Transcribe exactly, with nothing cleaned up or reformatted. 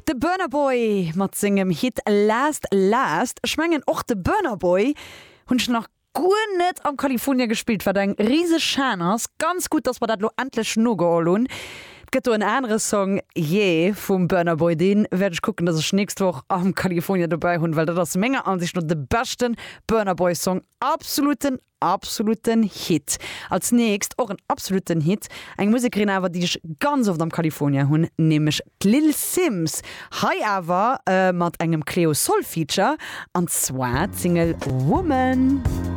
De Burna Boy mat sengem Hit Last Last. Ech mengen och de Burna Boy hunn ech nach guer net am California gespillt, wat eng riseg Schan ass. Ganz gutt, dass mer dat lo endlech nogeholl hunn. Et gëtt do en anere Song Yeah vum Burna Boy, dee wäert ech kucken, dass ech nächst Woch am California dobäi hunn, well dat ass menger Ansicht no de beschte Burna Boy Song. Absoluten absoluten Hit. Als nächst och en absoluten Hit, eng Musekerin awer, déi ech ganz oft am California hunn, nämlech d'Lil Simz. Hei awer mat engem Cleo Sol Feature, an zwar d'Single Woman.